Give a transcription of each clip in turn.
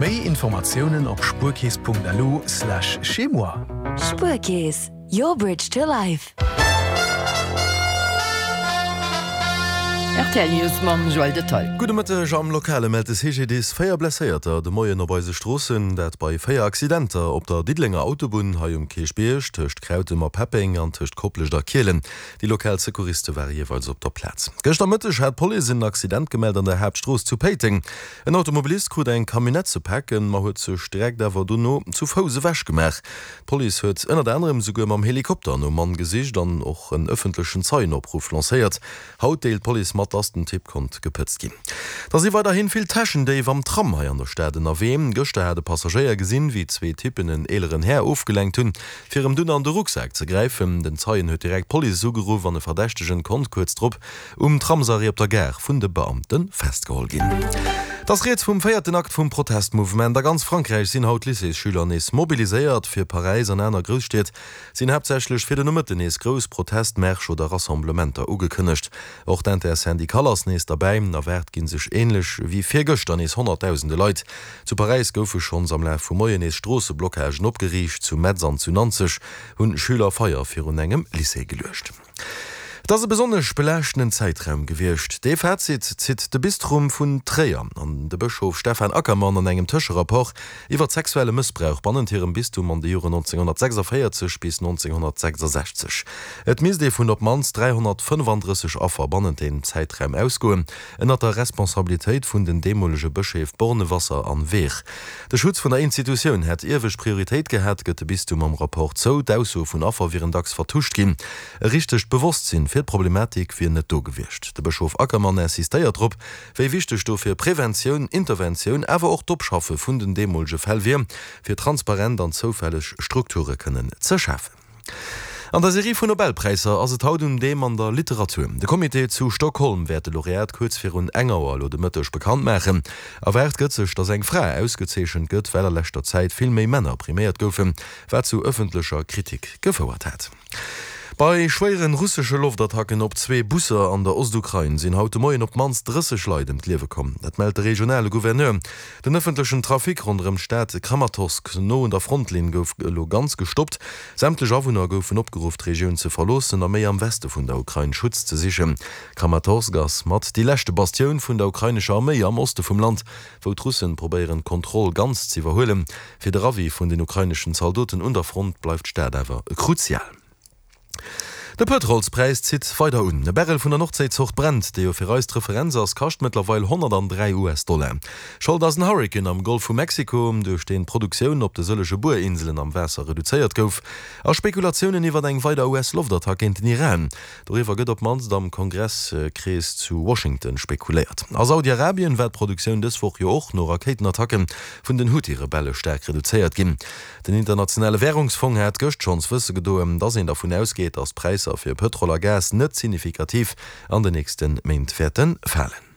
Méi Informatiounen op spuerkeess.lu/chez-moi. Spuerkeess, your bridge to life. Rtl News mam Joël Detaille. Gudde Mëtteg, Am Lokale mellt de CGDIS 4 Blesséierter de Moien op eise Stroossen. Dat bei 4 Accidenter op der Diddelenger Autobunn hei um Kierchbierg, tëscht Krautem a Peppeng an tëscht Koplescht a Kielen. Déi lokal Secouriste ware jeeweils op der Plaz. Gëschter Mëtteg hat d'Police en Accident gemellt an der Haaptstrooss zu Péiteng. En Automobilist krut eng Camionnette ze paken, ma huet sech direkt awer dono zu Fouss ewech gemaach. D'Police huet ënnert anerem esouguer mam Helikopter nom Mann gesicht an och en ëffentlechen Zeienopruff lancéiert. Haut deelt d'Police mat, dass den Typ konnt gepëtzt ginn. Da si weiderhi vill Täschendéif am Tram hei an der Stad ënnerwee. Gëschter hat e Passagéier gesinn, wéi zwee Typpen en eeleren Här ofgelenkt hunn, fir em dunn an de Rucksak ze gräifen. Den Zeien huet direkt d'Police ugeruff an e Verdächtegen konnt kuerz drop um Tramsarrêt op der Gare vun de Beamte festgeholl ginn. Et ass rieds vum véierten Akt vum Protestmouvement. A ganz Frankräich sinn haut Lycéesschüler nees mobiliséiert. Fir Paräis an aner Grousstied sinn haaptsächlech fir de Nomëtten nees grouss Protestmärsch oder Rassemblementer ugekënnegt. Och d'Intersyndicale ass nees derbäi. Erwaart gi sech änlech wéi virgëschter nees honnertdausende Leit. Zu Paräis goufe schonns am Laf vum Moien nees Stroosseblockagen opgeriicht. Zu Metz an zu Nanzeg hunn Schüler Feier virun engem Lycée geluecht. Et ass e besonnesch belaaschtenden Zäitraum gewiescht. Dee Fazit zitt de Bistrum vun Tréier an de Bëschof Stephan Ackermann an engem Tëscherapport iwwer sexuelle Mëssbrauch bannent hirem Bistum an de Joren 1946 bis 1966. Et misst ee vun op d'mannst 335 Affer bannent deem Zäitraum ausgoen, ënnert der Responsabilitéit vun den deemolege Bëscheef Bornewasser an Wehr. De Schutz vun der Institutioun hätt iewescht Prioritéit gehat, gëtt de Bistum am Rapport zou. D'Aussoe vun Affer wieren dacks vertuscht ginn. E richtegt Bewosstsinn fir d'Problematik wier net do gewiescht. De Bëschof Ackermann insistéiert drop, wéi wichteg dofir Preventioun, Interventioun, awer och d'Opschaffe vun den deemolege Fäll wier, fir transparent an zoufälleg Strukture kënnen ze schafen. An der Serie vun Nobelpräisser ass et haut un deem an der Literatur. De Comité zu Stockholm wäert de Laureat kuerz virun eng Auer elo de Mëtteg bekannt maachen. Erwaart gëtt sech, datt eng Fra ausgezeechent gëtt, well a leschter Zäit vill méi Männer priméiert goufen, wat zu ëffentlecher Kritik gefouert hat. Bei schwéiere russesche Loftattacken op zwee Busser an der Ostukrain sinn haut de Moien op d'mannst 30 Leit ëm d'Liewe komm. Dat mellt de regionale Gouverneur. Den ëffentlechen Trafic ronderëm d'Stad Kramatorsk, no un der Frontlinn, gouf elo ganz gestoppt. Sämtlech Awunner goufen opgeruff, d'Regioun ze verloossen a méi am Weste vun der Ukrain Schutz ze sichen. Kramatorsk ass mat déi leschte Bastioun vun der ukrainescher Arméi am Oste vum Land, wou d'Russen probéieren, d'Kontroll ganz z'iwwerhuelen. Fir de Ravi vun den ukraineschen Zaldoten un der Front bleift d'Stad awer kruzial. De Pëtrolspräis zitt weider un. E Barrel vun der Nordséizort Brent, dee jo fir eis d'Referenz ass, kascht mëttlerweil 103 US-Dollar. Schold ass en Hurrikan am Golf vu Mexiko, duerch deen d'Produktioun op de sëllege Buerinselen am Waasser reduzéiert gouf, a Spekulatiounen iwwer eng weider US-Loftattack géint den Iran. Doriwwer gëtt op d'mannst am Kongresskrees zu Washington spekuléiert. A Saudi-Arabien war d'Produktioun dës Woch jo och no Rakéitenattacke vun den Huthi-Rebelle staark reduzéiert ginn. Den internationale Wärungsfong hat gëscht schonns wësse gedoen, datt een dervun ausgeet, datt d'Präisser fir Pëtrol a Gas net signifikativ an den nächste Méint wäerte falen.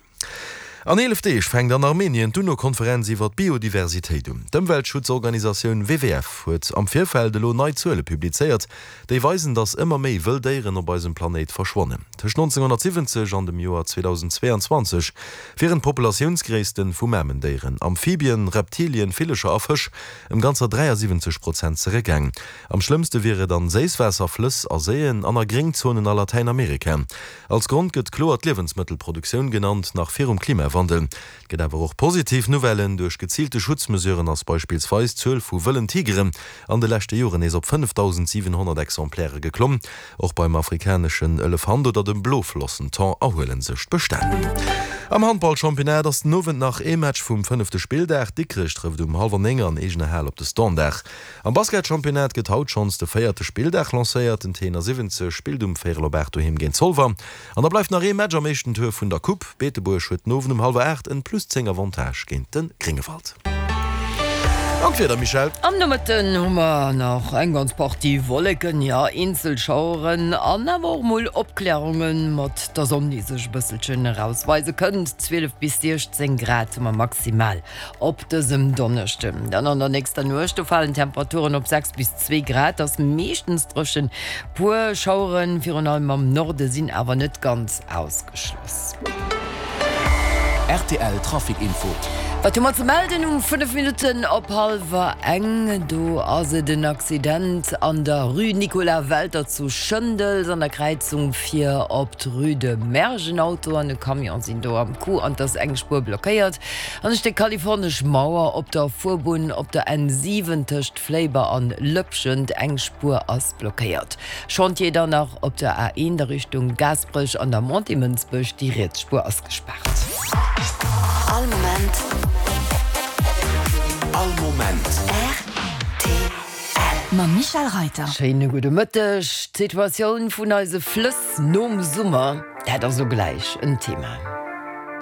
An 11 Deeg fänkt an Armenien d'UNO-Konferenz iwwer d'Biodiversitéit un. D'Ëmweltschutzorganisatioun WWF huet am Virfeld elo nei Zuele publizéiert, déi weisen, datt ëmmer méi wëll Déieren op eisem Planéit verschwannen. Tëscht 1970 an dem Joer 2022 wieren d'Populatiounsgréissten vu Mamendéieren, Amphibien, Reptilien, Villecher a Fësch ëm ganzer 73 Prozent zeréckgaang. Am schlëmmste wier et an Séisswaasserflëss a Séien an a Gréngzonen a Latäinamerika. Als Grond gëtt kloer d'Liewensmëttelproduktioun genannt, nach virum Klimawandel. Et gëtt awer och positiv Nouvellen, Duerch geziilte Schutzmesuren ass beispillsweis d'Zuel vu wëllen Tigeren an de leschte Joren nees op 5.700 Exemplaire geklomm. Och beim afrikaneschen Elefant oder dem Bloflossenthon erhuele sech d'Bestänn. Am Handballchampionnat ass den Owend nach ee Match vum fënnefte Spilldag. Dikrech trëfft um hallwer 9 an eegener Hal op de Standard. Am Basketchampionnat gëtt haut schonns de véierte Spilldag lancéiert. Den T71 spillt um véierel op 8 doheem géint Zolwer. An da bleift nach ee Match am éischten Tour vun der Coupe. Beetebuerg huet den Owend um hallwer 8 en plus 10 Avantage géint de Gréngewald. An d'Wieder, Michèle? Am Nomëtten hu mer nach eng ganz Partie Wolleken, jo eenzel Schaueren an awer och mol Opklärunge mat der Sonn, déi sech e bësselchen erausweise kënnt. 12 bis 16 Grad hu mer maximal. Op dësem Donneschden dann an der nächster Nuecht, do falen d'Temperaturen op 6 bis 2 Grad, ass meeschtens dréchen. Puer Schaueren, virun allem am Norde, sinn awer net ganz ausgeschloss. Rtl Trafic Info. Wat hu mer ze melden um 5 Minutten op hallwer eng? Do ass et en Accident an der Rue Nicolas Welter zu Schëndels an der Kräizung fir op d'Rue de Mersch. En Auto an e Camion sinn do am Coup an et ass eng Spuer blockéiert. An e Stéck kalifornesch Mauer op der Fuerbunn op der N7 tëscht Fléiber an Lëpschent, eng Spuer ass blockéiert. Chantier dann nach op der A1 a Richtung Gaasperech an der Montée Mënsbech, déi riets Spuer ass gespaart. All Moment. All Moment. Rtl. Mam Michèle Reyter. Schéine gudde Mëtteg. D'Situatioun vun eise Flëss nom Summer, dat ass elo gläich en Thema.